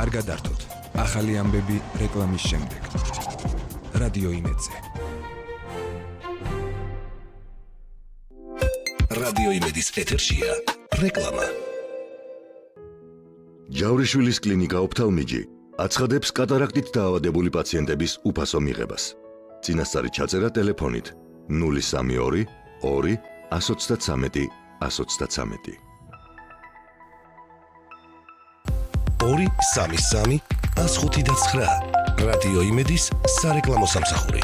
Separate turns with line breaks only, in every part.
კარგად ართოთ. ახალი ამბები რეკლამის შემდეგ. რადიო იმედზე.
რადიო იმედის ეთერშია რეკლამა.
ჯავრიშვილის კლინიკა ოფთალმიჯი აცხადებს კატარაქტით დაავადებული პაციენტების უფასო მიღებას. წინასწარი ჩაწერა ტელეფონით 032 2 133 133.
233 159 რადიო იმედის სარეკლამო სამსახური.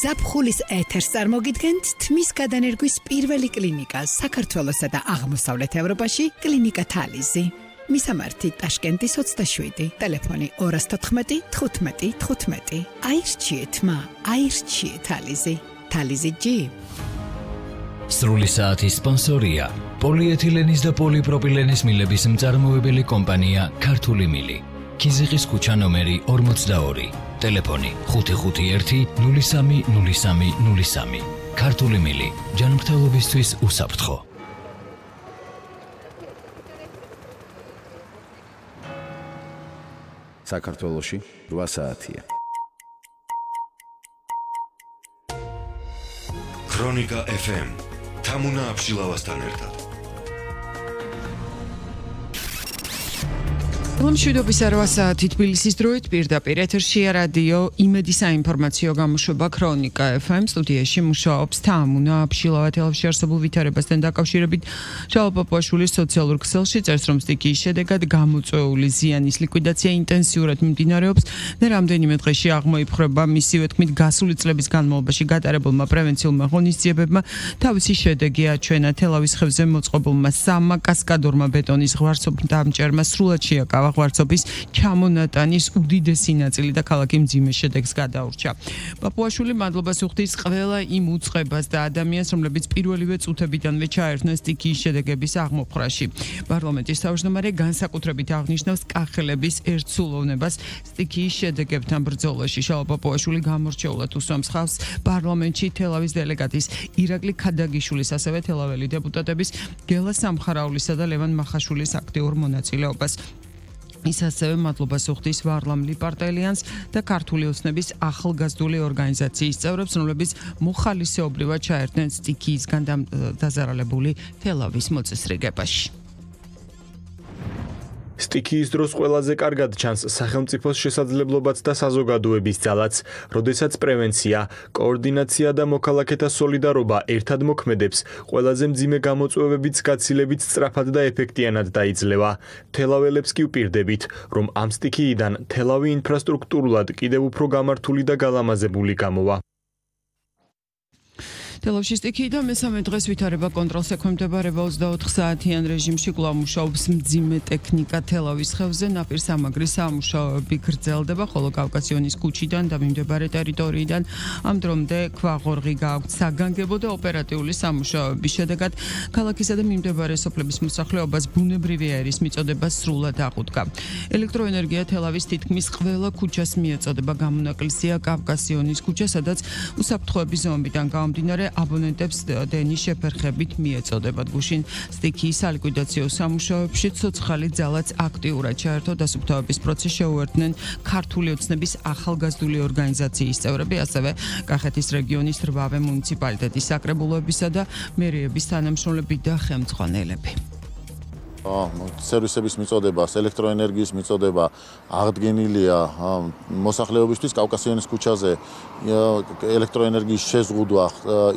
ზაფხულის ეთერს წარმოგიდგენთ თმის გადანერგვის პირველი კლინიკა საქართველოსა და აღმოსავლეთ ევროპაში კლინიკა თალიზი. მისამართი ტაშკენტის 27, ტელეფონი 214 15 15. აირჩიეთმა, აირჩიეთ თალიზი. თალიზი G.
სრული საათის სპონსორია პოლიეთილენის და პოლიპროპილენის მილების მწარმოებელი კომპანია ქართული მილი. ქიზიყის ქუჩა ნომერი 42, ტელეფონი 551 03 03 03. ქართული მილი, ჯანმრთელობისთვის უსაფრთხო.
საქართველოში 8 საათია.
ქრონიკა FM თამუნა აბშილავასთან ერთად.
მშვიდობის 8 საათი თბილისის დროით პირდაპირ ეთერშია რადიო იმედი საინფორმაციო გამოშვება ქრონიკა FM. სტუდიაში მუშაობს თამუნა აბშილავა. თელავში არსებულ ვითარებასთან დაკავშირებით შალვა პაპუაშვილის სოციალურ ქსელში წერს, რომ სტიქიის შედეგად გამოწვეული ზიანის ლიკვიდაცია ინტენსიურად მიმდინარეობს და რამდენიმე დღეში აღმოიფხვრება. მისივე თქმით, გასული წლების განმავლობაში გატარებულმა პრევენციულმა ღონისძიებებმა თავისი შედეგი აჩვენა. თელავის ხევზე მოწყობილმა 3 კასკადორმა ბეტონის ღვარცობდამჭერმა სრულად შეაკავა ღვარცობის ჩამონატანის უდიდესი ნაწილი და ქალაქი მძიმე შედეგს გადაურჩა. პაპუაშვილი მადლობას უხდის ყველა იმ უწყებას და ადამიანს, რომლებიც პირველივე წუთებიდანვე ჩაერთნენ სტიქიის შედეგების აღმოფხვრაში. პარლამენტის თავმჯდომარე განსაკუთრებით აღნიშნავს კახელების ერთსულოვნებას სტიქიის შედეგებთან ბრძოლაში. შალვა პაპუაშვილი გამორჩეულად უსვამს ხალხს პარლამენტში თელავის დელეგატის ირაკლი ქადაგიშვილის, ასევე თელაველი დეპუტატების გელა სამხარაულისა და ლევან მახაშვილის აქტიურ მონაწილეობას. ის ასევე მადლობას უხდის ვარლამ ლიპარტელიანს და ქართული ოცნების ახალგაზრდული ორგანიზაციის წევრებს, რომლებიც მოხალისეობრივად ჩაერთნენ სტიქიისგან დაზარალებული თელავის მოწესრიგებაში.
სტიქიის დროს ყველაზე კარგად ჩანს სახელმწიფოს შესაძლებლობაც და საზოგადოების ძალაც, როდესაც პრევენცია, კოორდინაცია და მოქალაქეთა სოლიდარობა ერთად მოქმედებს, ყველაზე მძიმე გამოწვევებიც გაცილებით სწრაფად და ეფექტიანად დაიძლევა. თელაველებს კი ვპირდებით, რომ ამ სტიქიიდან თელავი ინფრასტრუქტურულად კიდევ უფრო გამართული და გალამაზებული გამოვა.
თელავში სტიქიიდან მესამე დღეს ვითარება კონტროლს ექვემდებარება 24 საათიან რეჟიმში. კვლავ მუშაობს მძიმე ტექნიკა თელავის ხევზე. ნაპირ სამაგრის სამუშაოები გრძელდება, ხოლო კავკასიონის ქუჩიდან და მიმდებარე ტერიტორიიდან ამ დრომდე ქვაღორღი გააქვთ საგანგებო და ოპერატიული სამუშაოების შედეგად ქალაქისა და მიმდებარე სოფლების მოსახლეობას ბუნებრივი აირის მიწოდება სრულად აღუდგა. ელექტროენერგია თელავის თითქმის ყველა ქუჩას მიეწოდება. გამონაკლისია კავკასიონის ქუჩა, სადაც უსაფრთხოების ზომიდან გამომდინარე აბონენტებს დენის შეფერხებით მიეწოდებათ. გუშინ სტიქიის სალიკვიდაციო სამუშაოებში ცოცხალი ძალაც აქტიურად ჩაერთო. დასუფთავების პროცესს შეუერთდნენ ქართული ოცნების ახალგაზრდული ორგანიზაციის წევრები, ასევე კახეთის რეგიონის 8 მუნიციპალიტეტის საკრებულოებისა და მერიების თანამშრომლები და ხელმძღვანელები.
სერვისების მიწოდება, ელექტროენერგიის მიწოდება აღდგენილია მოსახლეობისთვის კავკასიონის ქუჩაზე. ელექტროენერგიის შეზღუდვა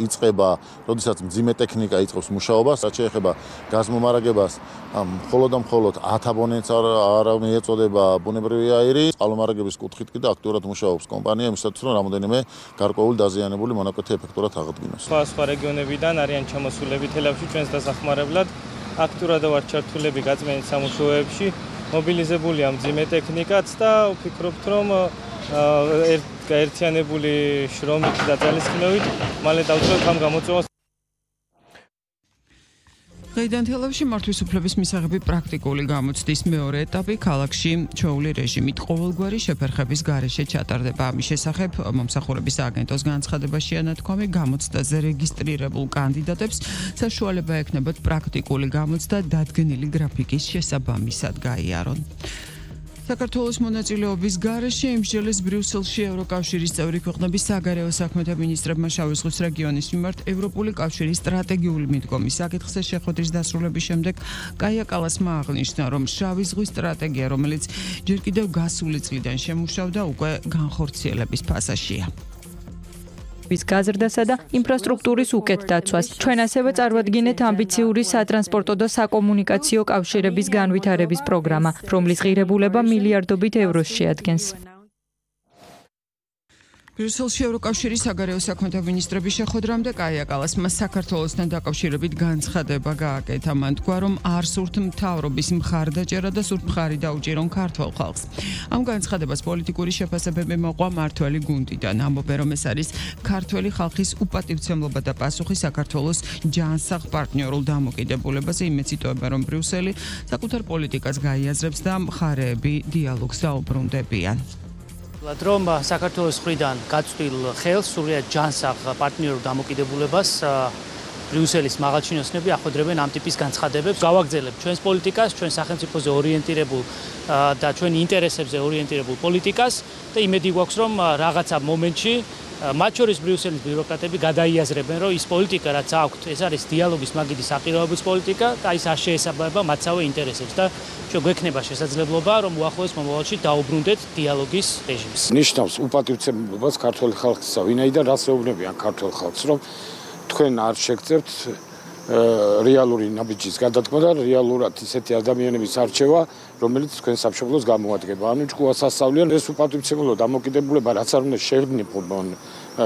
იწყება, როდესაც მძიმე ტექნიკა იწყებს მუშაობას, რაც შეეხება გაზმომარაგებას, მხოლოდ და მხოლოდ 10 აბონენტს არ მიეწოდება ბუნებრივი აირი. წყალმომარაგების კუთხით კი და აქტიურად მუშაობს კომპანია იმისათვის, რომ რამოდენიმე გარკვეული დაზიანებული მონაკვეთი ეფექტურად აღდგინოს.
სხვა რეგიონებიდან არიან ჩამოსულები თელავში ჩვენს დასახმარებლად. აქტიურად ვართ ჩართულები გაწმენდის სამუშაოებში, მობილიზებულია მძიმე ტექნიკაც და ვფიქრობთ, რომ ერთიანებული შრომით და ძალისხმევით მალე დავწერთ ამ გამოწვევას.
დღეიდან თელავში მართვის უფლების მისაღები პრაქტიკული გამოცდის მეორე ეტაპი ქალაქში ჩვეული რეჟიმით ყოველგვარი შეფერხების გარეშე ჩატარდება. ამის შესახებ მომსახურების აგენტოს განცხადებაშია ნათქვამი, გამოცდაზე რეგისტრირებულ კანდიდატებს საშუალება ექნებათ პრაქტიკული გამოცდა დადგენილი გრაფიკის შესაბამისად გაიარონ. საქართველოს მონაწილეობის გარეშე იმსჯელეს ბრიუსელში ევროკავშირის წევრი ქვეყნების საგარეო საქმეთა მინისტრებმა შავი ზღვის რეგიონის მიმართ ევროპული კავშირის სტრატეგიული მიდგომის საკითხზე შეხვედრის დასრულების შემდეგ კაია კალასმა აღნიშნა, რომ შავი ზღვის სტრატეგია, რომელიც ჯერ კიდევ გასული წლიდან შემუშავდა, უკვე განხორციელების ფაზაშია.
გაზრდასა და ინფრასტრუქტურის უკეთ დაცვას. ჩვენ ასევე წარვადგინეთ ამბიციური სატრანსპორტო და საკომუნიკაციო კავშირების განვითარების პროგრამა, რომლის ღირებულება მილიარდობით ევროს შეადგენს. ბრიუსელში ევროკავშირის საგარეო საქმეთა მინისტრების შეხვედრამდე კაია კალასმა საქართველოსთან დაკავშირებით განცხადება გააკეთა. მან თქვა, რომ არ სურთ მთავრობის მხარდაჭერა და სურთ მხარი დაუჭირონ ქართველ ხალხს. ამ განცხადებას პოლიტიკური შეფასებები მოყვა მართველი გუნდიდან. ამბობენ, რომ ეს არის ქართველი ხალხის უპატივცემლობა და პასუხი საქართველოს ჯანსაღ პარტნიორულ დამოკიდებულებაზე. იმეც იტოვებენ, რომ ბრიუსელი საკუთარ პოლიტიკას გაიაზრებს და მხარეები დიალოგს დაუბრუნდებიან.
რომ საქართველოს მხრიდან გაწვდილ ხელს სრულიად ჯანსაღ პარტნიორულ დამოკიდებულებას ბრიუსელის მაღალჩინოსნები ახვედრებენ ამ ტიპის განცხადებებს. გავაგრძელებთ ჩვენს პოლიტიკას, ჩვენ სახელმწიფოზე ორიენტირებულ და ჩვენი ინტერესებზე ორიენტირებულ პოლიტიკას და იმედი გვაქვს, რომ რაღაცა მომენტში მათ შორის ბრიუსელის ბიუროკრატები გადაიაზრებენ, რომ ის პოლიტიკა, რაც აქვთ, ეს არის დიალოგის მაგიდის საყიროების პოლიტიკა და ის არ შეესაბამება მათსავე ინტერესებს და ჩვენ გვექნება შესაძლებლობა, რომ უახლოეს მომავალში დაუბრუნდეთ დიალოგის რეჟიმს.
ნიშნავს უპატივცემლობას ქართველი ხალხისა, ვინაიდან რას ეუბნებიან ქართველ ხალხს, რომ თქვენ არ შეგწევთ რეალური ნაბიჯის გადადგმა და რეალურად ისეთი ადამიანების არჩევა, რომელიც თქვენ სამშობლოს გამოადგება. ანუ ჭკუას ასწავლიან ეს უპატივცემლობა დამოკიდებულება, რაც არ უნდა შევნებონ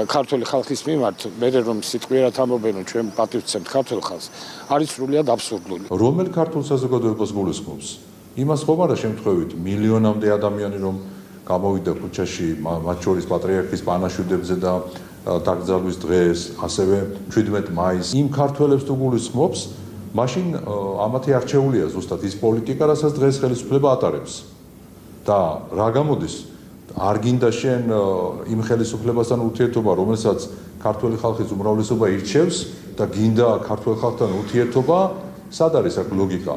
ქართველი ხალხის მიმართ, მე რომ სიტყვიერად ამბობენ, რომ ჩვენ პატივცემთ ქართველ ხალხს, არის სრულიად აბსურდული.
რომელ ქართულ საზოგადოებას გულისხმობს? იმას ხომ არა შემთხვევით მილიონამდე ადამიანი რომ გამოვიდა ქუჩაში, მათ შორის პატრიარქის პანაშვიდებზე და დაკრძალვის დღეს, ასევე 17 მაისს იმ ქართველებს თუ გულისხმობს, მაშინ ამათი არჩეულია ზუსტად ის პოლიტიკა, რასაც დღეს ხელისუფლება ატარებს. და რა გამოდის? არ გინდა შენ იმ ხელისუფლებასთან ურთიერთობა, რომელსაც ქართველი ხალხის უმრავლესობა ირჩევს და გინდა ქართველ ხალხთან ურთიერთობა, სად არის აქ ლოგიკა?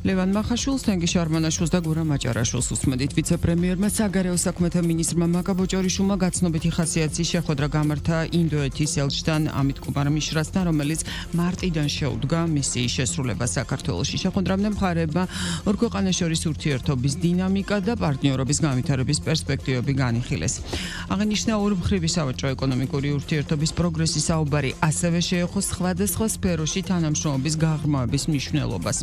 ლევან მახაშვილს, თენგიშ არმანაშვილს და გურამ აჭარაშვილს უსმენთ. ვიცე-პრემიერმა საგარეო საქმეთა მინისტრმა მაკა ბოჭორიშვილმა გაცნობითი ხასიათის შეხვედრა გამართა ინდოეთის ელჩთან ამით კუმარ-მიშრასთან, რომელიც მარტიდან შეუდგა მისიის შესრულება საქართველოში. შეხვედრამდე მხარეებმა ორ ქვეყანას შორის ურთიერთობის დინამიკა და პარტნიორობის განვითარების პერსპექტივები განიხილეს. აღინიშნა ორმხრივი სავაჭრო-ეკონომიკური ურთიერთობის პროგრესის საუბარი, ასევე შეეხო სხვადასხვა სფეროში თანამშრომლობის გაღრმავების მნიშვნელობას.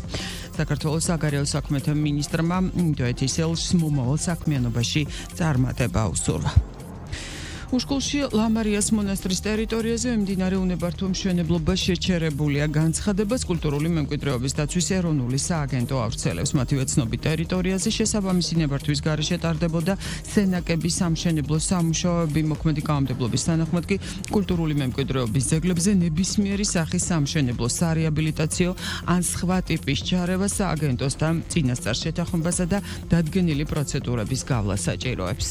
საქართველოს საგარეო საქმეთა მინისტრმა ინდოეთის ელჩს მომავალ საქმიანობაში წარმატება უსურვა. უშკულში ლამარიას მონასტრის ტერიტორიაზე მიმდინარე უნებართვო მშენებლობა შეჩერებულია. განცხადებას კულტურული მემკვიდრეობის დაცვის ეროვნული სააგენტო ავრცელებს. მათივე ცნობით ტერიტორიაზე შესაბამისი ნებართვის გარეშე ტარდებოდა სენაკების სამშენებლო სამუშაოები. მოქმედი კანონმდებლობის თანახმად კი კულტურული მემკვიდრეობის ძეგლებზე ნებისმიერი სახის სამშენებლო, სარეაბილიტაციო ან სხვა ტიპის ჩარევა სააგენტოსთან წინასწარ შეთანხმებასა და დადგენილი პროცედურების გავლას საჭიროებს.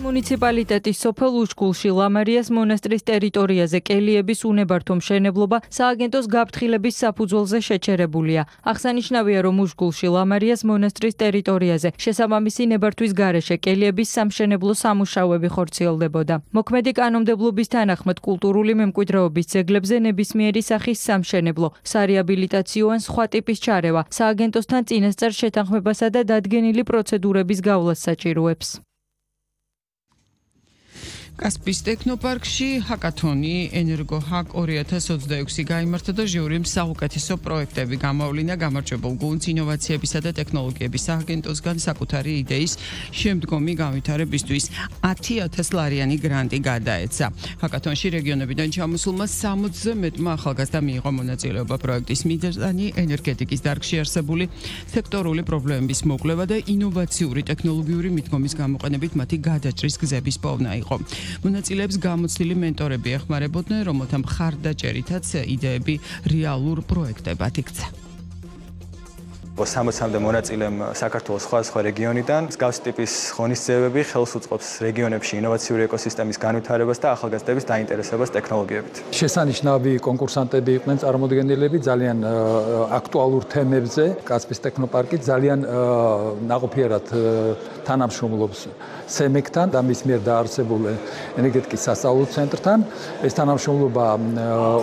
მუნიციპალიტეტის სოფელ უშკულში ლამარიას მონასტრის ტერიტორიაზე კელიების უნებართვო მშენებლობა სააგენტოს გაფრთხილების საფუძველზე შეჩერებულია. აღსანიშნავია, რომ უშკულში ლამარიას მონასტრის ტერიტორიაზე შესაბამისი ნებართვის გარეშე კელიების სამშენებლო სამუშაოები ხორციელდებოდა. მოქმედი კანონმდებლობის თანახმად კულტურული მემკვიდრეობის ძეგლებზე ნებისმიერი სახის სამშენებლო, სარეაბილიტაციო ან სხვა ტიპის ჩარევა სააგენტოსთან წინასწარ შეთანხმებასა და დადგენილი პროცედურების გავლას საჭიროებს. კასპის ტექნოპარკში ჰაკათონი ენერგოჰაკ 2026 გაიმართა და ჟიურიმ საუკეთესო პროექტები გამოვლინა. გამარჯვებულ გუნდს ინოვაციებისა და ტექნოლოგიების სააგენტოსგან საკუთარი იდეის შემდგომი განვითარებისთვის 10,000 ლარიანი გრანტი გადაეცა. ჰაკათონში რეგიონებიდან ჩამოსულმა 60-ზე მეტმა ახალგაზრდა მიიღო მონაწილეობა. პროექტის მიზანი ენერგეტიკის დარგში არსებული სექტორული პრობლემების მოკვლევა და ინოვაციური ტექნოლოგიური მიდგომის გამოყენებით მათი გადაჭრის გზების პოვნა იყო.
მონაწილეებს გამოცდილი მენტორები ეხმარებოდნენ, რომელთა მხარდაჭერითაც იდეები რეალურ პროექტებად იქცა.
60-მდე მონაწილემ საქართველოს სხვადასხვა რეგიონიდან მსგავსი ტიპის ღონისძიებები ხელს უწყობს რეგიონებში ინოვაციური ეკოსისტემის განვითარებას და ახალგაზრდების დაინტერესებას ტექნოლოგიებით.
შესანიშნავი კონკურსანტები იყვნენ წარმოდგენილები ძალიან აქტუალურ თემებზე. კასპის ტექნოპარკი ძალიან ნაყოფიერად თანამშრომლობს სემეკთან და მის მიერ დაარსებულ ენერგეტიკის სასწავლო ცენტრთან. ეს თანამშრომლობა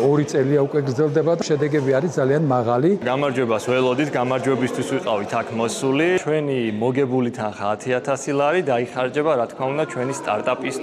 2 წელია უკვე გრძელდება და შედეგები არის ძალიან მაღალი.
გამარჯვებას ველოდით, გამარჯვებისთვის ვიყავით აქ მოსული. ჩვენი მოგებული თანხა 10000 ლარი დაიხარჯება, რა თქმა უნდა, ჩვენი სტარტაპის